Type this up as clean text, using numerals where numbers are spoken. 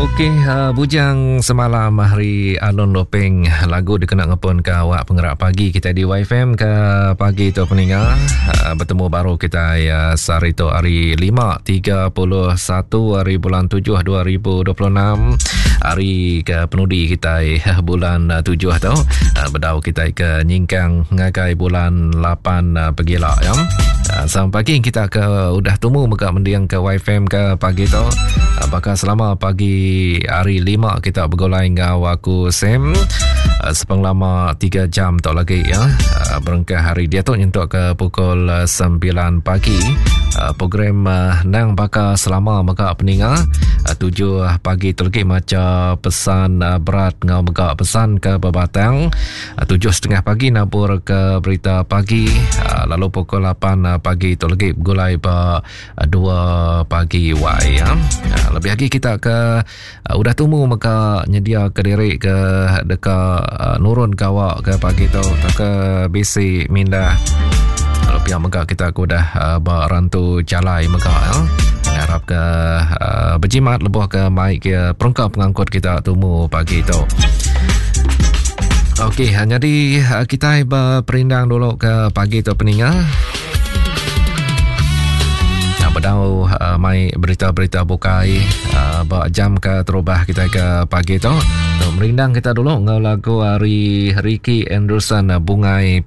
Okey, uh, bujang semalam hari Alun Lopeng lagu dikena ngepun ke awak pengerak pagi kita di YFM ke pagi tu peninga. Uh, bertemu baru kita uh, sehari tu hari 5.31 hari bulan 7 2026 hari ke penudi kita bulan 7 tu uh, bedau kita ke nyingkang ngagai bulan 8 uh, pegila ya. Uh, sampai pagi kita ke udah tumu mega mending ke YFM ke pagi tu. Uh, bakal selama pagi hari 5 kita begulai enggau aku Sam uh, sepengelama 3 jam tu lagi ya. Uh, berengkah hari dia tu nyentuk ke pukul 9 pagi. Uh, program uh, nang baka selama mega peninga uh, 7 pagi tu lagi maca pesan uh, berat ngau mega pesan ke bebatang. 7.30 pagi nabur ke berita pagi ah, lalu pukul 8 ah, pagi tu lagi begulai ba 2 ah, pagi wai ya. Lebih lagi kita ke udah tumu mega nyedia ke diri ke deka nurun gawa ke pagi tu ke bisi mindah lalu pia mega kita ke udah ba rantu jalai mega ya. Ngarap ke uh, berjimat lebuh ke mai ke perengka pengangkut kita tumu pagi tu. Okey, ha, jadi ha, kita berperindang dulu ke pagi tu peninga. Nah, bedau uh, mai berita-berita bukai uh, ba jam ke terubah kita ke pagi tu. Tu merindang kita dulu ngau lagu hari Ricky Anderson Bungai.